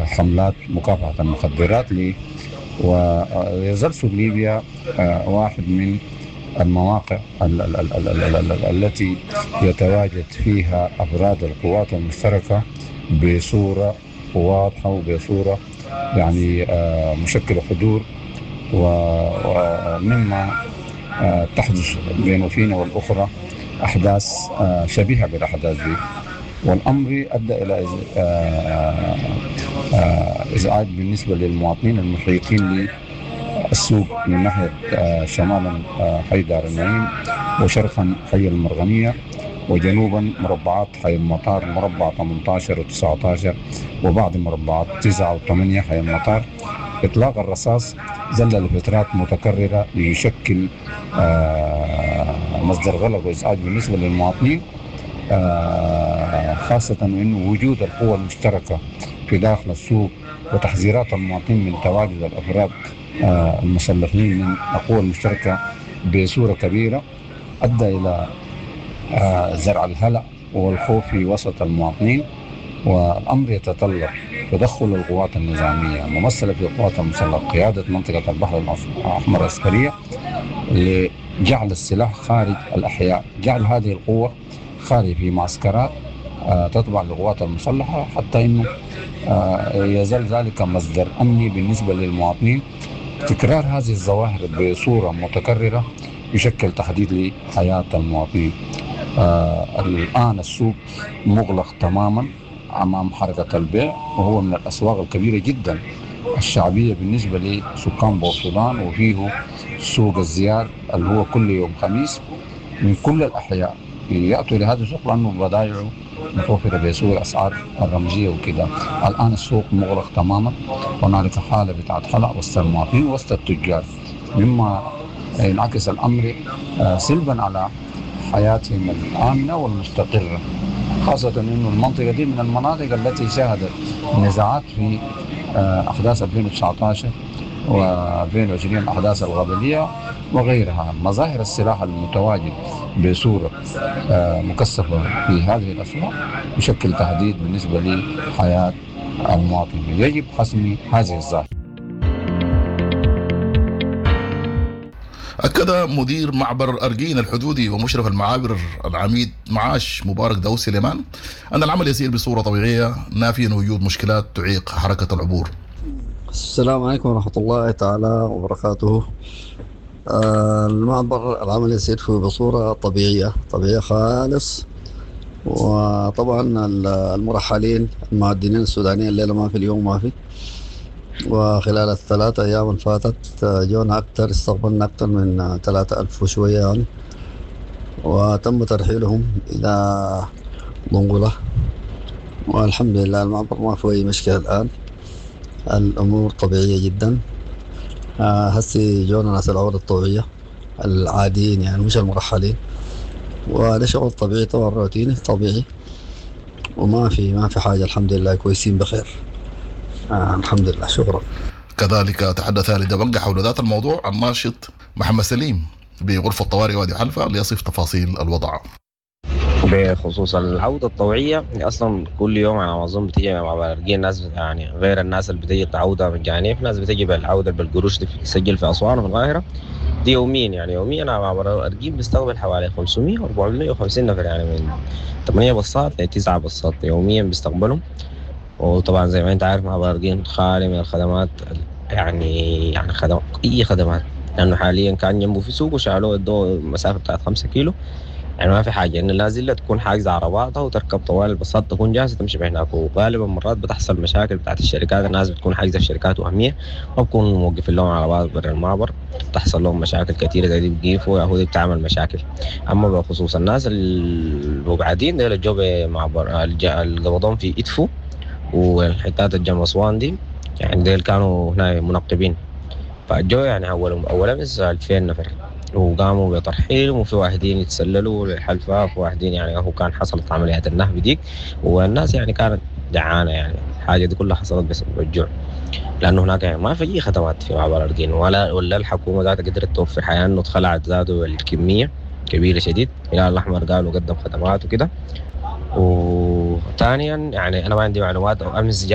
حملات مكافحة المخدرات ويظل سوق ليبيا واحد من المواقع التي يتواجد فيها أفراد القوات المشتركة بصورة واضحة وبصورة يعني مشكلة حضور، ومما تحدث بين فينا والأخرى أحداث شبيهة بالأحداث دي، والأمر أدى إلى إزعاج بالنسبة للمواطنين المحيطين للسوق من ناحية شمالا حي دار النعيم، وشرقا حي المرغنية، وجنوبا مربعات حي المطار مربع 18 و19 وبعض مربعات 9 و8 حي المطار. إطلاق الرصاص ظل لفترات متكررة ليشكل مصدر غلق وإزعاج بالنسبة للمواطنين، خاصة أنه وجود القوى المشتركة في داخل السوق وتحذيرات المواطنين من تواجد الأفراد المسلحين من القوى المشتركة بصورة كبيرة أدى إلى زرع الهلع والخوف في وسط المواطنين. والأمر يتطلب تدخل القوات النظامية ممثلة في القوات المسلحة قيادة منطقة البحر الأحمر العسكرية لجعل السلاح خارج الأحياء، جعل هذه القوة خارج في معسكرات تتبع للقوات المسلحة، حتى إنه يزال ذلك مصدر أمني بالنسبة للمواطنين. تكرار هذه الظواهر بصورة متكررة يشكل تهديد لحياة المواطنين. الآن السوق مغلق تماما أمام حركة البيع، وهو من الأسواق الكبيرة جدا الشعبية بالنسبة لسكان بورسودان، وفيه سوق الزيار اللي هو كل يوم خميس من كل الأحياء يأتوا لهذا السوق لأنه بضايعه متوفرة بسوق الأسعار الرمزية وكده. الآن السوق مغلق تماما، هنالك حالة بتاعت هلع وسط المواطنين وسط التجار، مما ينعكس الأمر سلبا على حياتهم الآمنة والمستقرة، خاصة أنه المنطقة دي من المناطق التي شهدت نزاعات في أحداث 2019 و2020، أحداث الغبلية وغيرها. مظاهر السلاح المتواجد بصورة مكثفة في هذه الأسواق يشكل تهديد بالنسبة لحياة المواطن، يجب حسم هذه الظاهرة. أكد مدير معبر أرجين الحدودي ومشرف المعابر العميد معاش مبارك داود سليمان أن العمل يسير بصورة طبيعية، نافيا وجود مشكلات تعيق حركة العبور. السلام عليكم ورحمة الله تعالى وبركاته. المعبر العمل يسير فيه بصورة طبيعية، طبيعية خالص. وطبعا المرحلين المعدنين السودانيين الليلة ما في، اليوم ما في. وخلال الثلاثة أيام اللي فاتت جونا أكثر، استقبلنا أكثر من 3000 وشوية يعني، وتم ترحيلهم إلى دنقلة. والحمد لله المعبر ما في أي مشكلة الآن، الأمور طبيعية جدا. هسي جونا ناس العودة الطبيعية العاديين يعني، مش المرحلين، وهذا شغل طبيعي طبعا، روتيني طبيعي، وما في ما في حاجة، الحمد لله كويسين بخير. الحمد لله، شكرا. كذلك تحدث لدبنجة حول ذات الموضوع الناشط محمد سليم بغرفة طوارئ وادي حلفا ليصف تفاصيل الوضع. بخصوص العودة الطوعية، أصلا كل يوم على ما أظن بتيجي مع بارجين ناس، يعني غير الناس اللي بتيجي تعودة مجانية، في ناس بتيجي بالعودة بالقروش تسجل في أسوان وفي القاهرة، دي يوميا يعني يوميا على معبر أرجين بيستقبل حوالي 500 و 450 نفر، يعني من 8 بصات ل 9 بصات يوميا بيستقبلهم. وطبعا زي ما انت عارف معبر أرجين خالي من الخدمات، يعني خدم اي خدمات، لانه حاليا كان جنبه في سوق وشالوه ادوه مسافه بتاعت 5 كيلو، يعني ما في حاجه ان لازم تكون حاجزه عرباتها وتركب طوال الباصات تكون جاهزه تمشي بهناك. وغالبا مرات بتحصل مشاكل بتاعت الشركات، الناس بتكون حاجزه في شركات وهميه ما بكون موقفين لهم عربات برا المعبر، بتحصل لهم مشاكل كثيره زي دي، بيقيفوا يا هو بتعمل مشاكل. اما بخصوص الناس المبعدين ديل الجو بمعبر القبضون في ادفو والحتات الجنب اسوان دي، يعني ديل كانوا هنا منقبين، فالجو يعني اول امس 2000 نفر وقاموا بترحيلهم، وفي واحدين يتسللوا للحلفاء، وفي واحدين يعني هو كان حصلت عمليات النهب ديك، والناس يعني كانت جعانه، يعني الحاجه دي كلها حصلت بسبب الجوع، لانه هناك يعني ما في اي خدمات في معبر أرجين، ولا الحكومه ذاتها قدرت توفر حياه، انه اتخلعت ذاته الكميه كبيره شديد. الهلال الاحمر قالوا قدم خدمات وكده. وثانيا يعني انا ما عندي معلومات، او امس جاء